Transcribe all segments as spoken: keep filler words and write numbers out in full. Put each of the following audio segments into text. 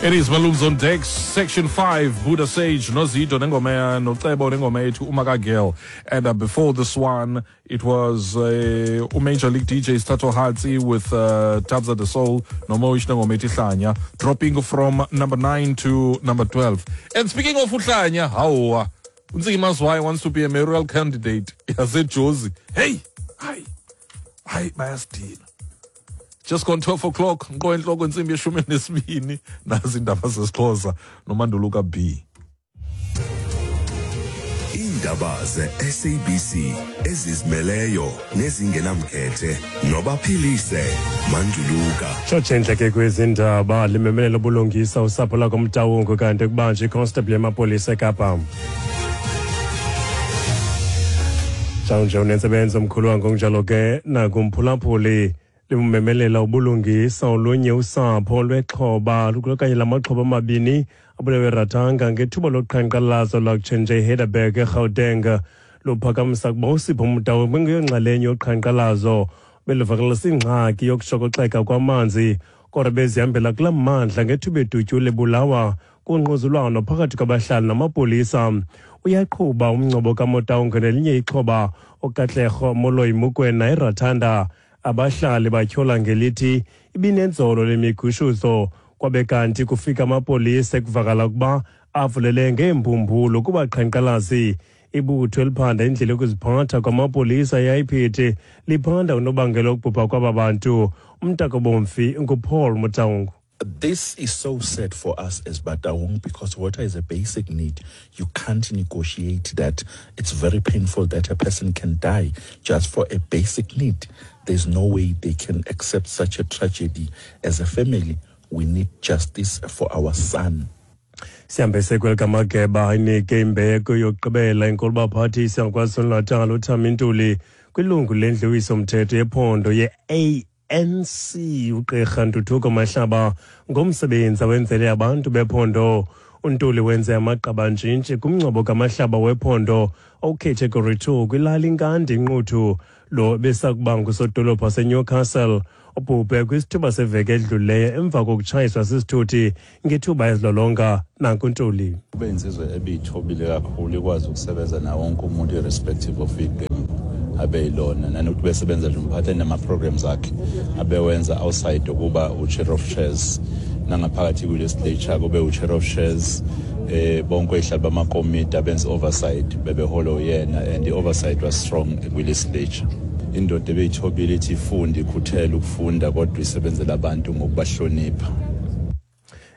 It is Malums on Deck, Section five, Buddha Sage, Nozito, Nengoma, Nocebo, Nengoma, Umaka Girl. And uh, before this one, it was uh, Major League D Js Tato Hatsi with uh, Tabza the Soul, Nomoish Nengoma Hlanya, dropping from number nine to number twelve. And speaking of Hlanya, how Ntsiki Mazwai wants to be a mayoral candidate. I said, Josie, hey, hi, hi, bayasdina. Just gone twelve o'clock. Nqo enhloko intsimbi yeshumi nesibini. Nazi indaba zesiXhosa noManduluka B. Indaba ze-S A B C ezizimeleyo nezingenamkhethe nobaphilise Manduluka. Tshotshe ke kwezindaba limemelela ubulungisa usapho lakoMtawungu kanti kubanjwe iconstable yamapolisa eKapa. Njalo unentsebenzo omkhulu wangokunjalo ke nakumphulaphuli limemelela ubulungisa olunye usapho lwexhoba okanye lamaxhoba amabini abulewe Ratanga ngethuba loqhankqalazo lwakutshenje eHeidelberg eGauteng. Luphakamisa ukuba uSipho Motau bengeyonxalenye yoqhankqalazo beluvakalisa ingxaki yokushokoxeka kwamanzi kodwa bezihambela kulaa mmandla ngethuba edutyule ebulawa kungquzulwano phakathi kwabahlali namapolisa. Uyaqhuba umngcwabo kaMotau nelinye ixhoba uKatlego Moloi Mokoena eRathanda. Abahlali batyhola ngelithi ibinenzolo lemigushuzo kwabe kanti kufika amapolisa ekuvakala ukuba avulele ngeembumbulu kubaqhankqalazi. Ibutho eliphanda indlela yokuziphatha kwamapolisa I P D liphanda unobangela wokubhubha kwaba bantu. Umntakobomfi nguPaul Motaung. This is so sad for us as Bataung because water is a basic need. You can't negotiate that. It's very painful that a person can die just for a basic need. There's no way they can accept such a tragedy. As a family, we need justice for our son. Sihambe sekwelikamageba inike imbeko yokugqibela inkulubaphathisi yaKwaZulu-Natal uThami Ntuli kwilungu lendlu yowiso-mthetho yephondo ye-A N C uGqirha Ntuthuko Mahlaba ngomsebenzi awenzele abantu bephondo. uNtuli wenze amagqabantshintshi kumngcwabo kaMahlaba wephondo ocategory two kwilali Nkandi Nquthu. Lo besakuba ngusodolophu waseNewcastle ubhubhe kwisithuba seveki edlulileyo emva kokutshayiswa sisithuthi ngethuba ezilolonga. Nanku Ntuli. Ube insizwa ebiyithobile kakhulu, ikwazi ukusebenza nawo wonke umuntu irrespective of iqembu abeyilona, nanokuthi besebenza nje umphathi nama-programs akhe abewenza outside ukuba u-chair of chairs nangaphakathi kwi-legislature kube u-chair of chairs. Eh bonke oyihlali bamakomiti abenza oversight bebeholwa uyena, and the oversight was strong kwi-legislature. Indoda ebeyithobile ithi ifunde, ikhuthele ukufunda kodwa isebenzela abantu ngokubahlonipha.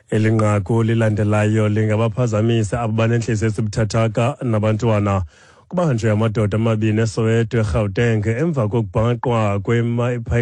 Elinqaku lilandelayo lingabaphazamisa abo banenhliziyo ezibuthathaka nabantwana. Kubanjwe amadoda amabini eSoweto eGauteng emva kokubhaqwa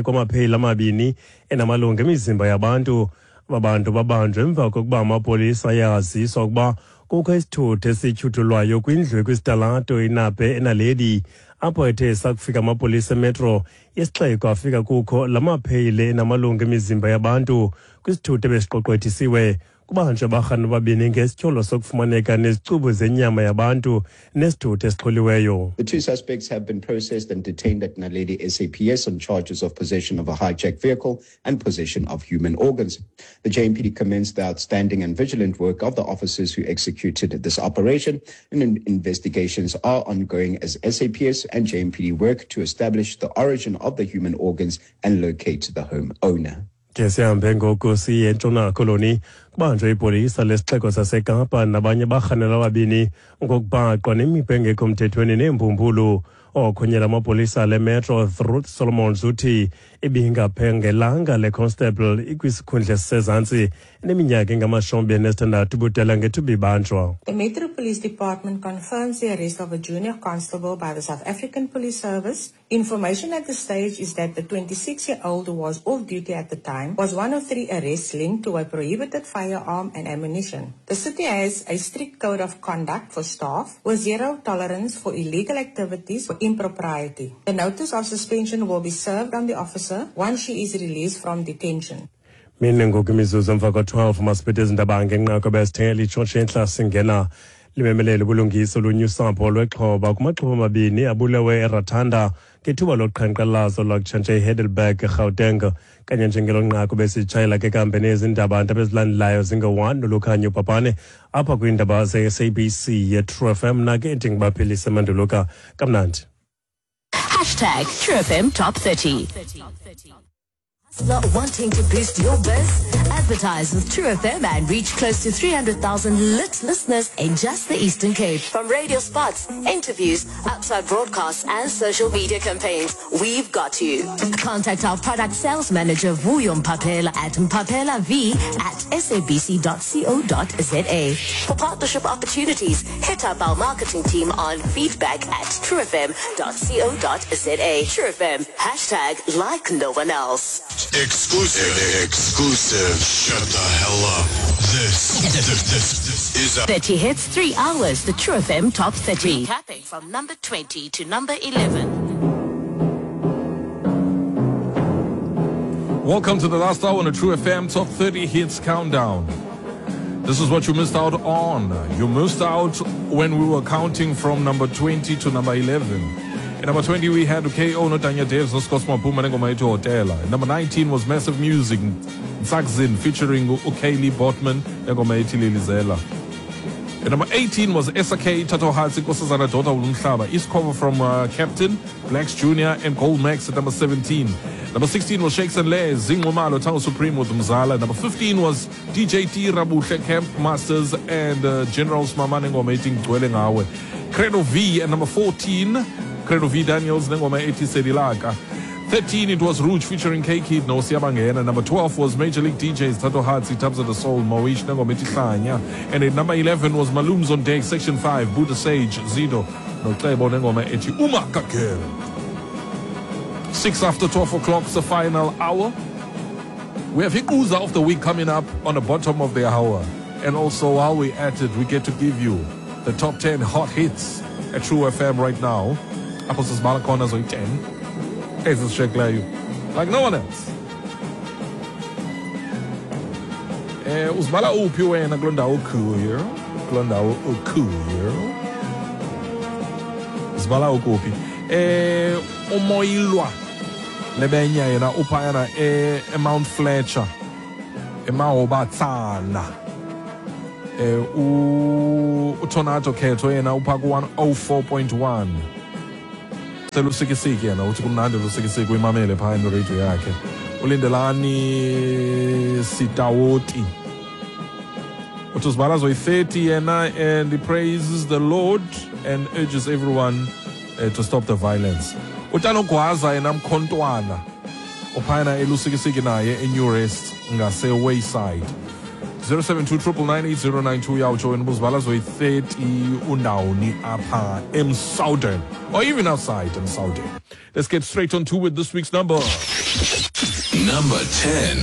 kwamapheyile amabini enamalungu emizimba yabantu. Aba bantu babanjwe emva kokuba amapolisa ayaziswa ukuba kukho isithuthi esityhuthulwayo kwindlu ekwisitalato iNape eNaledi, apho ethe sakufika amapolisa emetro yesixeko afika kukho la mapheyile enamalungu emizimba yabantu kwisithuthi ebesiqoqwethisiwe. Kubanjwe abarhani ababini ngesityholo sokufumaneka nezicubu zenyama yabantu nesithuthi esixholiweyo. The two suspects have been processed and detained at Naledi S A P S on charges of possession of a hijacked vehicle and possession of human organs. The J M P D commenced the outstanding and vigilant work of the officers who executed this operation, and investigations are ongoing as S A P S and J M P D work to establish the origin of the human organs and locate the home owner. Ke sihambe ngoku siye eNtshona Koloni. Kubanjwe ipolisa lesixeko saseKapa nabanye barhanelwa ababini ngokubhaqwa nemibhobho engekho mthethweni neembumbulu. Okhonyela amapolisa le Metro Ruth Solomons uthi ibingaphengelanga le constable ikwisikhundla esisezantsi eneminyaka engamashumi anesithandathu ubudala ngethuba ibanjwa. The Metro Police Department confirms the arrest of a junior constable by the South African Police Service. Information at this stage is that the twenty-six-year-old who was off duty at the time was one of three arrests linked to a prohibited firearm and ammunition. The city has a strict code of conduct for staff with zero tolerance for illegal activities or impropriety. The notice of suspension will be served on the officer once she is released from detention. Mine ngoku imizuzu emva kwa-twelve masiphethe izindaba ngenqaku besithengela itshotshe entla singena Limemelele ubulungisa olunye usapho lwexhoba kumaxhoba amabini abulewe eRathanda ngethuba loqhankqalazo lwakutshanje eHeidelberg, eGauteng. Kanye njengelo nqaku besitshayela ke kambe nezindaba ezilandelayo zinge-one nolukhanyo Bhabhane apha kwiindaba ze-S A B C ye-True F M. Nake ndingubaphilise Manduluka kamnandi. Hashtag True F M Top thirty. Not wanting to boost your biz? Advertise with True F M and reach close to three hundred thousand lit listeners in just the Eastern Cape. From radio spots, interviews, outside broadcasts and social media campaigns, we've got you. Contact our product sales manager Vuyo Mpapela at mpapela v at s a b c dot co dot z a. For partnership opportunities, hit up our marketing team on feedback at true f m dot co dot z a. True F M, hashtag like no one else. Exclusive. Exclusive. Shut the hell up. This, this, this, this is a thirty hits, three hours. The True F M Top thirty. Recapping from number twenty to number eleven. Welcome to the last hour on the True F M Top thirty Hits Countdown. This is what you missed out on. You missed out when we were counting from number twenty to number eleven. At number twenty, we had K O Notanya Devs, Noskos Mapuma, Nengoma Etu Hotela. At number nineteen was Massive Music, Ntsakzin, featuring Ukayli Botman, Nengoma Etu Lilizela. At number eighteen was S A K, Tato Hatsi, Nkosazana Daughter Ulumhlaba, East cover from uh, Captain, Blacks Junior, and Gold Max at number seventeen. Number sixteen was Shakes and Les, Zingomalo, Tango Supreme with Mzala. Number fifteen was D J T, Rabuhle, Camp Masters, and uh, Generals Mama, Nengoma Etu Ngcwele Ngawe. Credo V at number fourteen, Credo V Daniels, Nengoma Ethi Sedilaka. thirteen, it was Rouge featuring K-Kid, No Siyabangena. Number twelve was Major League D Js, Tato Hatsi, Tabs of the Soul, Moish, Nengoma Ethi Hlanya. And at number eleven was Malooms on Deck, Section five, Buddha Sage, Zido, Nocebo, Nengoma Ethi Umakakel. Six after twelve o'clock, the final hour. We have Hikuza of the week coming up on the bottom of the hour. And also, while we're at it, we get to give you the top ten hot hits at True F M right now. Apho sisibala khona zoyi-ten ezisishekileyo like no one else. Eh, uzibala uphi wena kuloo ndawo ukuyo? Kuloo ndawo ukuyo? Uzibala ukuphi? Eh, uMoyilwa Lebenya yena uphayana eMount Fletcher, eMahobatsana. Eh, uTornado Khetho yena upha ku one oh four point one. Selusikisiki yena uthi kumnandi lusikisiki uyimamele phaya neradio yakhe. Ulindelani Sitawoti uthi uzibala zoyi-thirty yena, and he praises the Lord and urges everyone uh, to stop the violence. Utanogwaza yena Mkhontwana uphayana elusikisiki naye eNew Rest ngase Wayside. zero seven two triple nine eight zero nine two uyawutsho wena ubuzibala zoyi-thirty undawoni apha eMsouthern or even outside eMsouthern. Let's get straight on to with this week's number. Number ten.